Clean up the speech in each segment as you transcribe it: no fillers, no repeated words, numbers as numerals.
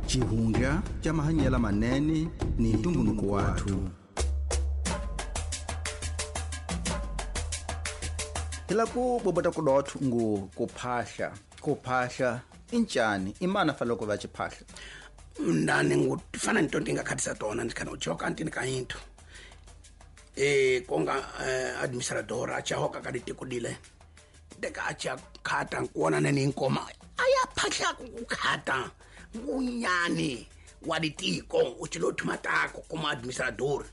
Xihundla xa mahanyelo manene ni ntumbuluko wathu. Hi la ku bobota ku dotho ngu ku phahla, ku phahla i ncani, i mani a fanele ku va xiphahla? Ndani ngu ti fana ni to ti nga khatisa tona ni khana u joka ntini ka yintho. E konga administrador a chahoka ka ditiko dile. Teka a cha khata nkuona ne ni nkoma. Aya phahla ku khata ngunyani wa ditiko u chilo thuma tako kuma administrador.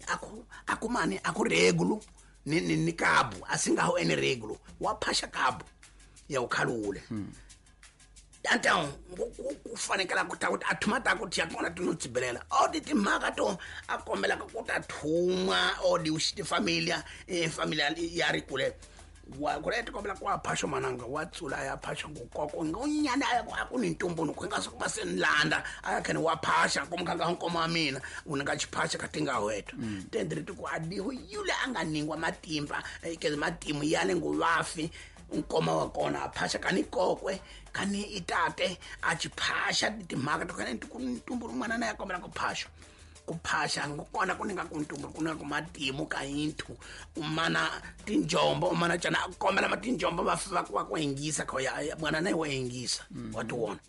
Aku aku mani aku regulo ni ni, ni kabu asingaho ene regulo wa phasha kabu ya ukhalule. Então ku fanekela ku ta ku a thuma ta ku tiya kona ti no tsibelela o di timhaka to a kombela ku ta thuma o di ti familia familia ya ri kule wa kule ti kombela ku a phasho mananga wa tsula ya phasho ku koko ngonyana a ku a ku ni ntumbuluko nga swi va se nlanda a ya khene wa phasha ku mkhanga nkoma wa mina u nga xiphasha ka tinga wethu tendri ti ku a diho yule a nga ningwa matimba ke matimu ya le nguvafi nkoma wa kona a phasha kani kokwe kani itate a chiphasha timhaka to kana ku ntumbuluko n'wana na ya kombela ku phasha ku phasha kona ku ninga ku ntumbuluko ku ninga ku matimu ka yinthu u mana tinjombo u mana cana a kombela ma tinjombo va va va ku yingisa kho ya mwana na wa yingisa wa ti wona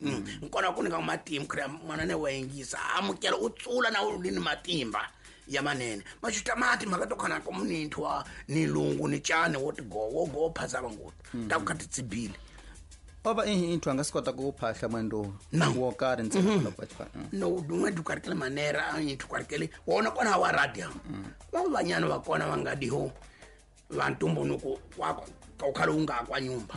nkona ku ninga ku matimu kha mwana na wa yingisa amukela u tsula na u ni matimba ya manene machuta mati mhaka to khana ku muninthu wa ni lungu ni cani wo ti go wo go phasa vangoto ta ku kha ti tsibile O va ihi inthu a nga swi kota ku phahla mwendo No. wo karhi ntsena loko va xi no dumwe dukarikele manera inthu karikele wona kona wa radio va vanyana va kona va nga diho va ntumbunuko wa ka ukhale u nga kwa nyumba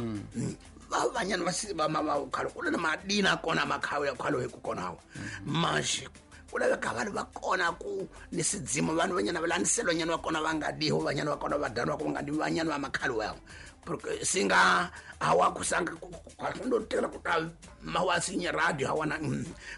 Va vanyana va si va ma va ukhale ku na madina kona makhawu ya khale hi ku kona hawa maxi ku laveka vanhu va kona ku ni sidzimo vanhu vanyana va landzelwa nyana va kona va nga diho vanyana va kona va danwa ku nga di vanyana va makhale wawo porque singa hawa kusanga ndo tekela ku ta mawasinya radio hawana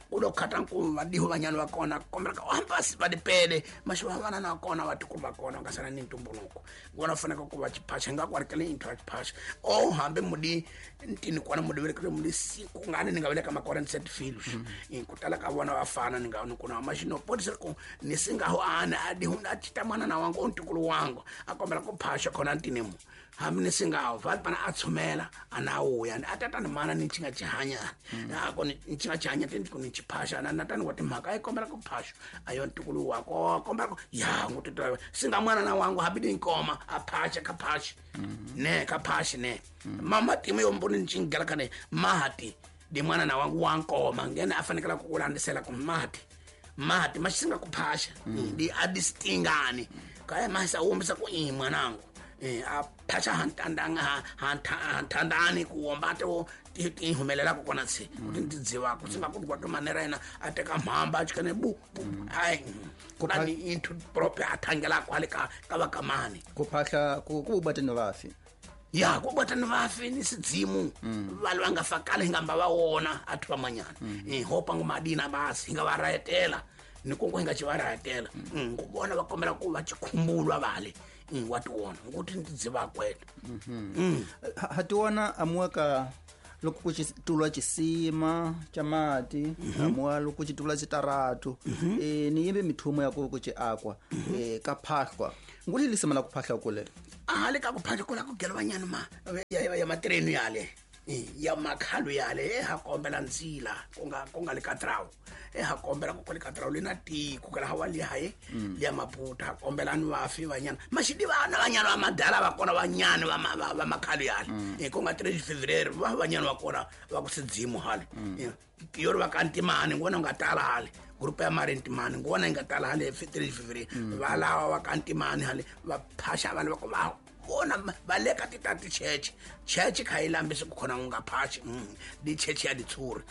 ku lo khata ku va diho vanyana va kona kombela ka hamba va dipele maxi va vana na kona va tikulu va kona nga sala ni ntumbuluko vona fanele ku va xiphasha nga ku ri intho ya xiphasha o hambi mudi ntini kona mudi velekile mudi siku ngani ni nga veleka makora ni set filos ku tala ka vona va fana ni nga ni kuna maxino potisa ku ni singaho ana a di hunda chita mwana na wangu ntukulu wangu a kombela ku phasha khona ntini mu hambi ni singaho va pana a tshumela a na wuya a tata ni mana ni chinga chihanya a ko ni chinga chihanya ti ku ni chiphasha na natani wa timhaka a yi kombela ku phasha a yo ntukulu wa ko kombela ku ya ngu titwa singa mwana na wangu hambi ni nkoma a phasha ka phasha ne ka phasha ne mama timu yo mboni ni chingela kane mati di mwana na wangu wa nkoma ngene a fanekela ku landisela ku mati mati masinga ku phasha di a distingani kaya masa wombisa ku i mwanangu a phasha hantandanga hantandani ku womba to ti humelela ku kona tsi ku ti dziwa ku singa ku kwa manera yena a teka mhamba a chikane bu bu ai ku na ni into proper a thangela kwale ka ka va kamani ku phahla ku ku bata ni vafi ya ku bata ni vafi ni sidzimu vanhu va nga fa kale hi nga mba va wona a thu vamanyana hopa ngo madina basi hi nga va rahetela ni konko hi nga ci va rahetela ku vona va kombela ku va chikhumbulwa vale wa ti wona nguti ni tidziva kwena Ha ti wona amuwa ka loko ku xitulwa xisima xa mati amuwa loko ku xitulwa xitaratu ni yimbe mithumo ya ku ku ci akwa ka phahlwa nguli lisima la ku phahla kule a le ka ku phahla kula ku gelwanyana ma ya matirenu yale ya makhalo yale e ha kombela ndzila ku nga le ka drawu e ha kombela ku le ka drawu le na tiko kala hawa le haye le ya maputa ha kombela ni vafi vanyana maxidi vana vanyana va madala va kona vanyana va makhalo yale ku nga 3 February va vanyana va kona va ku sidzimu hale yo ri va ka ntimani ngona nga tala hale group ya mari ntimani ngona yi nga tala hale 3 February va lava va ka ntimani hale va phasha vanhu va ku va vona va le ka ti ta ticheche cheche kha yi lambisi ku khona u nga phashi di cheche ya ditshuri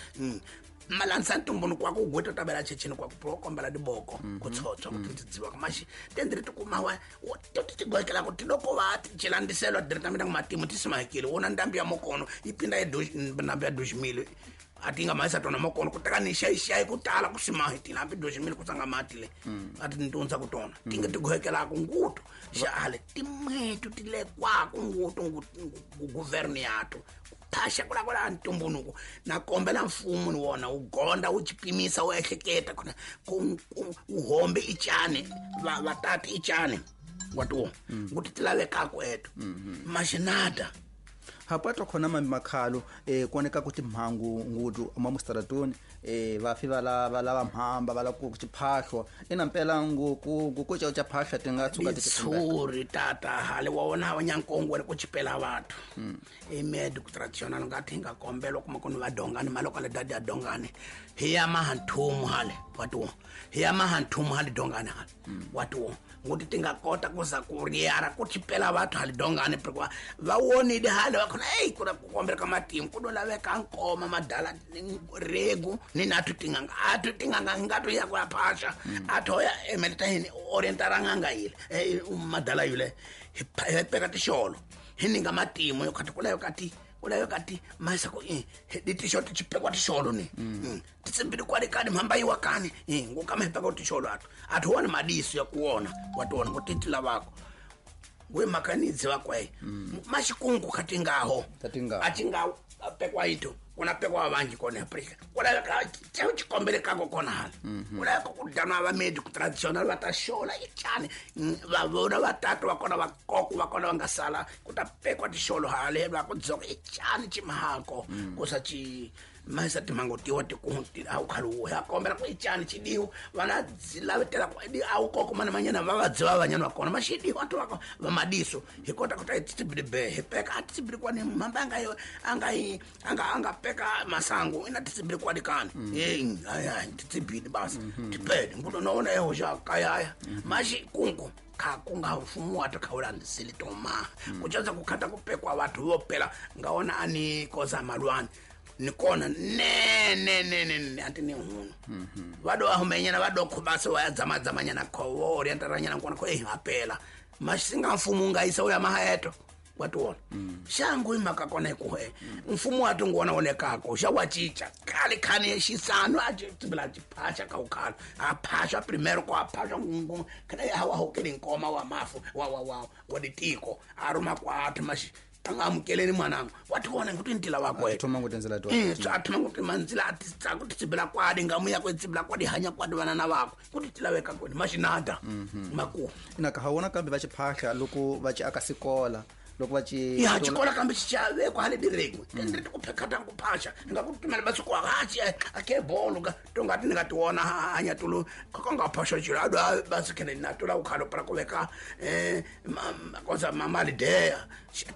malandza ntumbuluko wa ku gweta ta vela checheni kwa ku kombela diboko ku tshotswa ku ti dziwa maxi tendri ti kuma wa ti ti goekela ku ti loko va ti celandiselwa diri ta mina matimu ti simahekile wona ndambi ya mokono yi pinda ya ndambi ya doximile Atinga maisa tona makono kutaka ni xayi ku tala ku simahi tilampi doximile ku tsanga mati le ati ntundza ku tona tinga tiguhekela ku ngutu xale timwetu tile kwa ku ngutu guverni yato phasha kula kula ntumbunuko na kombela mfumo ni wona wu gonda wu chipimisa wu ehleketa kuna ku uhombe ichane vatati ichane watuwo nguti tilavekako eto maxinada hapato khona mambi makhalo kuoneka kuti mhangu ngutu mamustaratoni vafi vala vala mhamba vala ku chiphahlwa ina mpela nguku nguku cha chaphahla tinga tsuka titsuri tata hale wa wona wa nyankongo ku chipela vathu emed ku traditional ngathi nga kombelo kuma kuni va dongani maloko le dadi dongani hi ya mahanthumu hale watu hi ya mahanthumu hale dongani hale watu nguti tinga kota kuza kuriara ku chipela vathu hale dongani prikwa va wonile hale va khona ei kuna ku kombela ka matimu ku laveka nkoma madala regu ni nathu tinganga athu tinganga ngatu ya ku ya phasha atho ya emeleta hini orientara nganga ile madala yule hi peka tixolo hi ninga matimu yo khati kulayo kati kulayo kati masa ku di tixolo ti chipekwa tixolo ni titsimbili kwali kani mhamba yiwa kani ngukama hi peka tixolo athu athu wona madiso ya kuona watona ku titila vako we makanidzi vakwe mashikungu katingaho atinga pekwa ito kuna pekwa vanji kona Afrika kuna ka chikombele kako kona hala kuna ku dana va medical traditional va ta xola ichane va vona vatatu va kona va koko va kona va nga sala ku ta pekwa tixolo hale va ku dzoka ichane chimhako ku sa chi masa timango tiwa tikunti au khalu ya kombela ku ichane chidiwo vana dzilavetela ku au koko mana manyana va vadziva vanyana va kona mashidiwo athu va va madiso hi kota ku ta tibili be hi peka atibili kwani mhamba anga anga anga anga peka masango ina tibili kwani kani eh ay tibili basi tipede ngulo naona eho ja kayaya mashi kungu ka kunga mfumo wa takhaula ndisili toma kuchaza kukhata kupekwa watu vopela ngaona ani koza malwani nikona ne ne ne ne anti ni hunu vado ahumenyana vado khubasa wa dzama dzamanyana khowo orientaranyana nkona ko hapela mashinga mfumo ngaisa uya mahaeto watuona shangu imaka kona ikuhe mfumo watu ngona onekako xa wachicha kale khane xisano a tibila chiphasha ka ukhala aphasha primero ko aphasha ngungu kana hawa hokele nkoma wa mafu wa wa wa wa ditiko aruma kwa mashi angamukeleni mwanangu wationa kuti ntila wako athoma ngutenzela to athoma kuti manzila atitsa kuti tsibila kwadi ngamuya kwetsibila kwadi hanya kwadi vanana vako kuti tilaweka kwini mashinada maku ina ka hawona kambe va chiphahla loko va chi aka sikola loko va chi ya chikola kambe xichavekwa hale direki ndiri kuphekata kuphasha nga ku tumela masiku akachi ake bolo ka tongati ni nga tiona hanya tulu konga phasha chilo ado basikene na tula ukhalo para kuveka koza mamali dea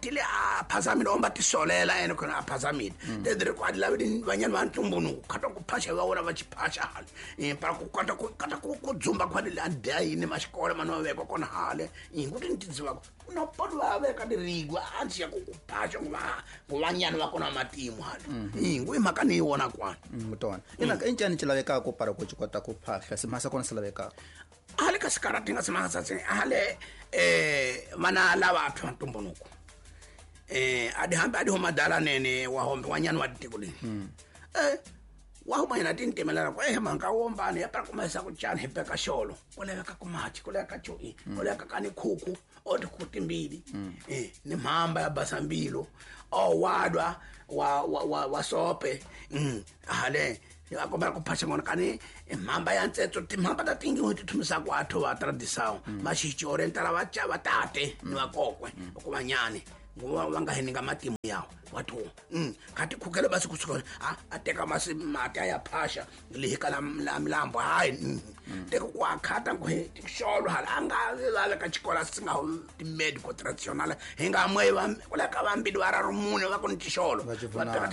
tile a phazamile omba tisolela ene khona a phazamile ndiri kwa la vanyana va ntumbunu khata ku phasha va wona va chiphasha hale para ku kata ku kata ku dzumba kwa le dea yini maxikola mana vekwa kona hale kuti ntidziva no podo va veka dirigwa anti ya ku kuphasha nguvanyana va kona matimu hale ngui mhaka ni wona kwana mutona ina injani chilavekako para ku chikota ku phahla simhasa kona silavekako hale ka sikarati nga simhasa tse hale mana lava athu ntumbunuko adi hambe adi homadala nene wa hombe wanyana wa ditiko le wa huma ina tintemelela ko mhaka wombani ya para kumesa ku chana hi peka xolo ku laveka ku machi ku laveka choi ku laveka kani khuku o tikhuku timbili ni mhamba ya basambilo o wadwa wa wa wa sope hale ya kombela ku phasha ngona kani mhamba ya ntsetso timhamba ta tingi ti thumisa ku athu va tradição maxichi orientala va cha va tate ni vakokwe ku vanyani ngoba va nga hininga matimu yawo wathu kati khukele basi kusuka a teka masi mati ya phasha lihika la milambo hayi teka ku akhata ku xolo hala anga va ka xikola singa ti medical traditional hi nga mwe va kula ka vambili va ra rumune va ku ni tixolo va teka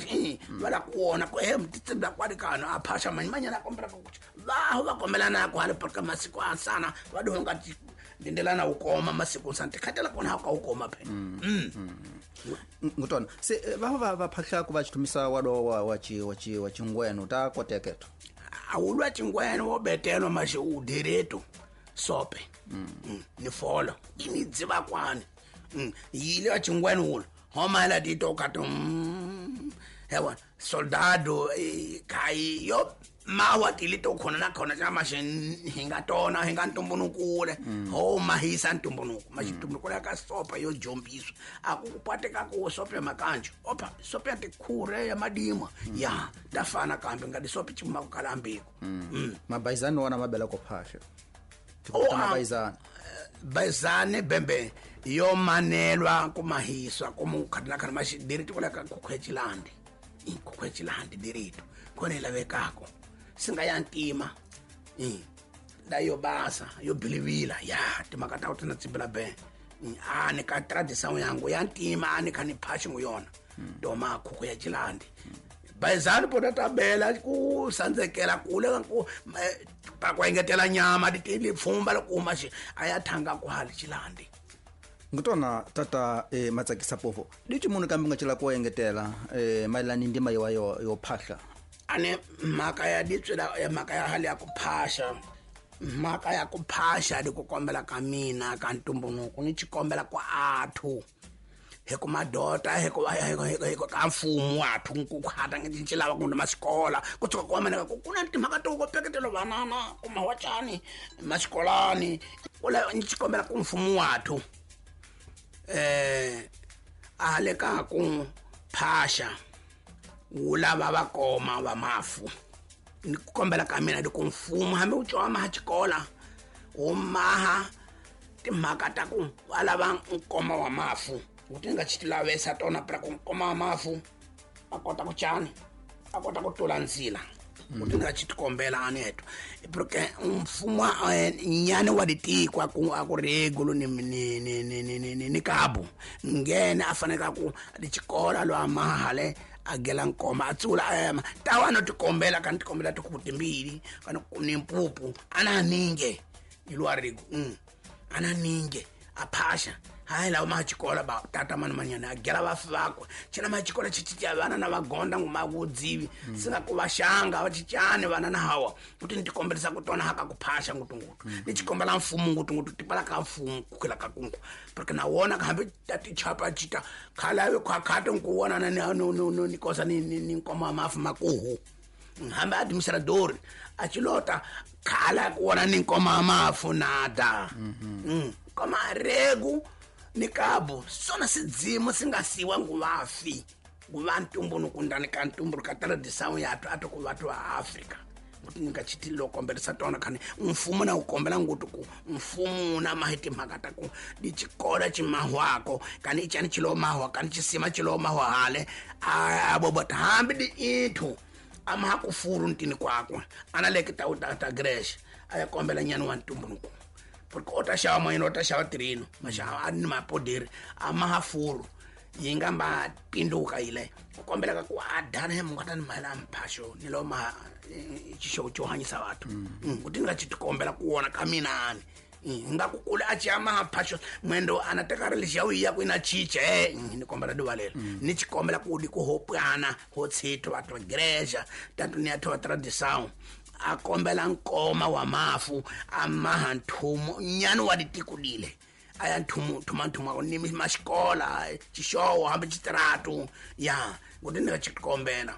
va la ku wona ku titsibila kwali kano a phasha manyana kombela ku va va kombelana ku hala ka masiku asana va dihonga ndindelana ukoma masiku sante khatela kona ka ukoma phela ngutona se va va phahla ku va chithumisa wado wa wa chi wa chi wa chingweno ta koteketo awulwa chingweno wo betelo mashi udireto sope ni folo ini dziva kwani yile wa chingweno ulo homa la dito ka to Hewa soldado kai yo mawa tilito khona na khona xa maxi hi nga tona hi nga ntumbulukule ho mahisa ntumbuluko maxitumbuluko ya ka sopa yo jombiswa a ku pateka ku sopa ya makanjo opa sopa ya tikhure ya madima ya ta fana kambe nga disopa chuma ku kalambiko. Mabaizani wona mabela ko phasha tikota mabaizani baizani bembe yo manelwa kumahiswa kumukhatina khana maxidiri tikola ka kukhwechilandi kukhwechilandi dirito khona lavekako singa ya ntima da yo basa yo bilivila ya timhaka ta ku tina tsimbila be a ni ka tradition yangu ya ntima a ni kha ni phaxi ngu yona doma khuku ya chilandi baizani pota tabela ku sandzekela kule ku pa ku engetela nyama ti pfumba loko uma xi a ya thanga ku hali chilandi. Ngutona tata Matsakisa Povo dici munhu kambe nga cela ku engetela mayelana ni ndima yo yo phahla ane mhaka ya ditswela ya mhaka ya hali ya ku phasha mhaka ya ku phasha di ku kombela ka mina ka ntumbuluko ni xikombela ku athu hi ku madota hi ku ka mfumo athu ku khata ngi ci lava ku masikola ku tshuka ku amana ku kuna timhaka to ko peketelo vanana ku mawachani masikolani ku la ni xikombela ku mfumo wathu a le ka ku phasha wu lava va koma va mafu ni ku kombela ka mina di ku mfumo hambi wu cowa maha xikola wu maha timhaka ta ku va lava nkoma wa mafu wu ti nga xi lavesa tona pra ku nkoma wa mafu a kota ku cani a kota ku tula ndzila wu ti nga xi tikombela a ni heto porque mfumo nyani wa ditiko a ku regulo ni ni ni ni ni ni kabu ngene a fanele ku xikola lo amahale a gela nkoma a tsula a tawa no tikombela ka tikombela tikhuku timbili kana ni mpupu ana ninge ilwa rego ana ninge a phasha hayi lawa machikola ba tata mani manyana a gela vafi vakwe china machikola chichicha vana na vagonda ngumakudzivi singa ku vaxanga va chichani vana na hawa kuti ni tikombelisa ku tona haka ku phasha ngutungutu ni chikombela mfumo ngutungutu tipala ka mfumo kukhela ka kungu porque na wona hambi ta tichapa chita khalawe khwakhate nkuwona na ni kosa ni ni nkoma mafu makuhu hambi administrador a chilota khala kuwona ni nkoma mafu nada koma regu ni kabo sona sidzimo singasiwa nguvafi nguva ntumbuluko ndani ka ntumbuluko ka tradition ya athu ku vathu va Afrika kuti ngachiti lo kombelisa tona khani mfumo na ukombela ngutu ku mfumo na mahiti mhaka ta ku di chikola chimahwako kani ichani chilo mahwa kani chisima chilo mahwa hale abo bota hambi di ithu ama kufuru ntini kwakwe ana leke ta ta gresh aya kombela nyani wa ntumbuluko porque ota xava moyeni ota xava tirino maxava a ni mapoderi a ma ha furu yi nga ma pinduka yile ku kombela ka ku a dana he mungu ni mahela mphasho ni lo ma xixo xo hanyisa vathu kuti ni nga xi tikombela ku wona ka mina ani nga ku kula a ci ama mphasho mwendo ana teka ri lexiya u ya ku ina chiche ni kombela divalela ni xikombela ku di ku hopana ho tshito vathu va greja tatu ni ya thowa tradição a kombela nkoma wa mafu a maha nthumo nyani wa ditikudile a ya nthumo thuma nthuma ni maxikola xixowo hambi xitiratu ya kuti ni nga xikombela.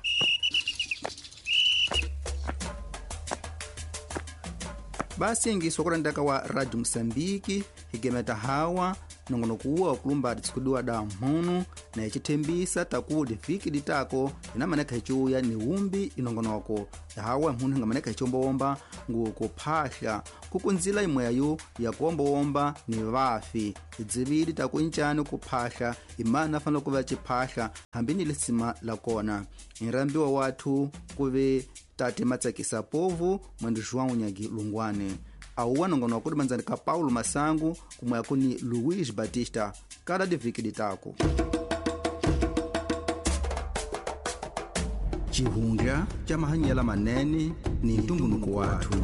Basi kulandaka wa Radio Mosambiki higemeta hawa nongonokuwa wakulumba titsikudiwa da mhunu na icithembisa takuti viki ditako inamaneka hicuya ni umbi inongonoko hawa mhunu hingamaneka hicombowomba ngukuphahla kukunzila imweyo yakuwombowomba ni vafi idzivili takuincani kuphahla imana afanele kuva ciphahla hambi ni lisima la kona inrambiwa wathu kuve tate Matsakisa Povo mwendo João Nyagi Lungwane auwa nongonoko kuti manzani ka Paulo Masangu kumwe kuni Luiz Batista kada diviki ditako. Chihundla cha mahanyela manene ni ntumbuluko wathu.